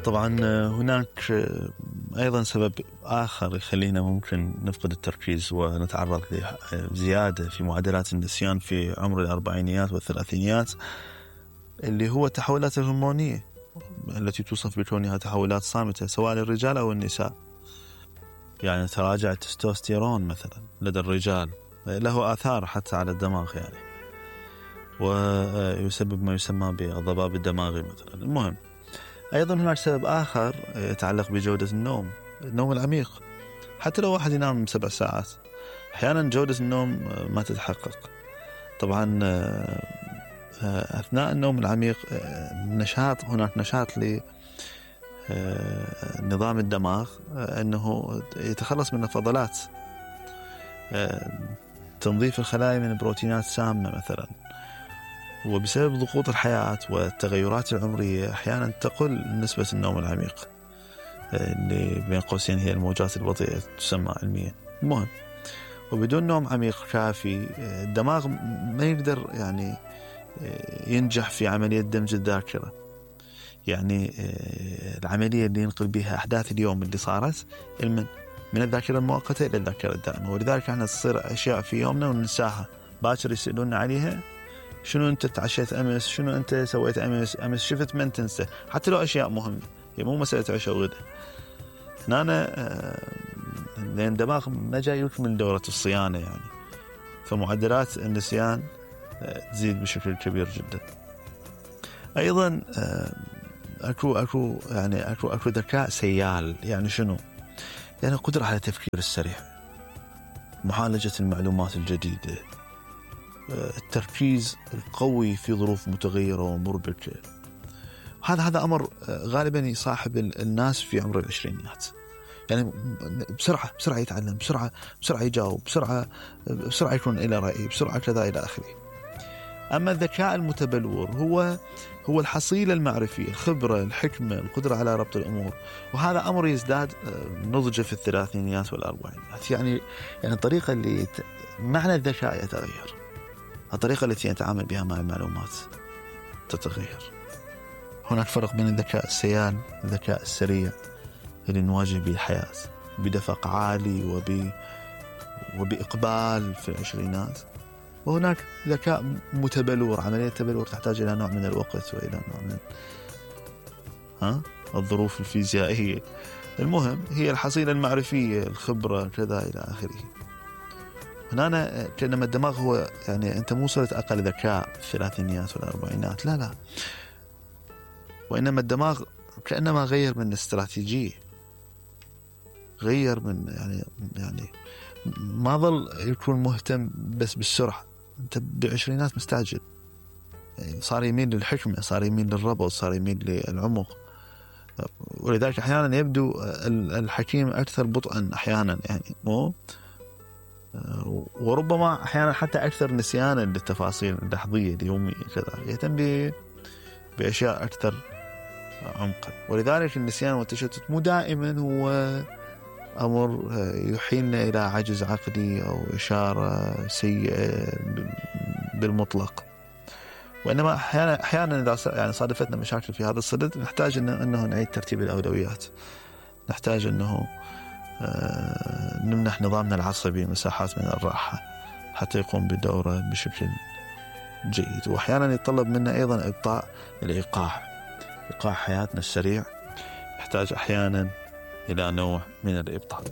طبعا هناك أيضا سبب آخر يخلينا ممكن نفقد التركيز ونتعرض لزيادة في معدلات النسيان في عمر الأربعينيات والثلاثينيات، اللي هو التحولات الهرمونية التي توصف بكونها تحولات صامتة سواء للرجال أو النساء. يعني تراجع التستوستيرون مثلا لدى الرجال، له آثار حتى على الدماغ يعني، ويسبب ما يسمى بالضباب الدماغي مثلا. المهم أيضا هناك سبب آخر يتعلق بجودة النوم العميق. حتى لو واحد ينام 7 ساعات أحيانا جودة النوم ما تتحقق. طبعا أثناء النوم العميق هناك نشاط لنظام الدماغ أنه يتخلص من الفضلات، تنظيف الخلايا من البروتينات السامة مثلا. وبسبب ضغوط الحياة والتغيرات العمرية أحيانا تقل نسبة النوم العميق، اللي بين قوسين هي الموجات البطيئة تسمى علميا. المهم وبدون نوم عميق كافي الدماغ ما يقدر يعني ينجح في عملية دمج الذاكرة، يعني العملية اللي ينقل بها أحداث اليوم اللي صارت من الذاكرة المؤقتة إلى الذاكرة الدائمة. ولذلك احنا تصير أشياء في يومنا وننساها، باكر يسألون عليها، شنو أنت تعشيت أمس، شنو أنت سويت أمس شفت من تنسى، حتى لو أشياء مهمة، هي مو مسألة عشاء وغدا. هنا لأن الدماغ ما جاي يكمل دورة الصيانة يعني، فمعدلات النسيان تزيد بشكل كبير جدا. أيضا أكو ذكاء سيال. يعني شنو؟ يعني قدرة على التفكير السريع، معالجة المعلومات الجديدة، التركيز القوي في ظروف متغيرة ومربكة. هذا أمر غالبا يصاحب الناس في عمر العشرينيات، يعني بسرعة يتعلم، بسرعة يجاوب، بسرعة يكون إلى رأي، بسرعة كذا إلى آخره. أما الذكاء المتبلور هو الحصيلة المعرفية، الخبرة، الحكمة، القدرة على ربط الأمور. وهذا أمر يزداد نضجه في الثلاثينيات والأربعينيات. يعني الطريقة اللي معنى الذكاء يتغير، الطريقة التي يتعامل بها مع المعلومات تتغير. هناك فرق بين الذكاء السيال والذكاء السريع اللي نواجه به الحياة بدفق عالي وبإقبال في العشرينات، وهناك ذكاء متبلور. عملية التبلور تحتاج إلى نوع من الوقت وإلى نوع من الظروف الفيزيائية. المهم هي الحصيلة المعرفية، الخبرة كذا إلى آخره. هنا كأنما الدماغ هو يعني أنت مو صرت أقل ذكاء في الثلاثينيات والأربعينات، لا، وإنما الدماغ كأنما غير من استراتيجية، غير من يعني ما ظل يكون مهتم بس بالسرعة. أنت بالعشرينات مستعجل، يعني صار يميل للحكمة، صار يميل للربط، صار يميل للعمق. ولذلك أحيانا يبدو الحكيم أكثر بطئا أحيانا، يعني مو، وربما أحيانا حتى أكثر نسيانا للتفاصيل اللحظية اليومية كذا، يهتم بأشياء أكثر عمقا. ولذلك النسيان والتشتت مو دائما هو أمر يحيلنا إلى عجز عقلي أو إشارة سيئة بالمطلق، وإنما أحيانا إذا يعني صادفتنا مشاكل في هذا الصدد نحتاج أنه نعيد ترتيب الأولويات، نحتاج أنه نمنح نظامنا العصبي مساحات من الراحة حتى يقوم بدوره بشكل جيد. وأحيانا يتطلب منا أيضا إبطاء الإيقاع حياتنا السريع يحتاج أحيانا إلى نوع من الإبطاء.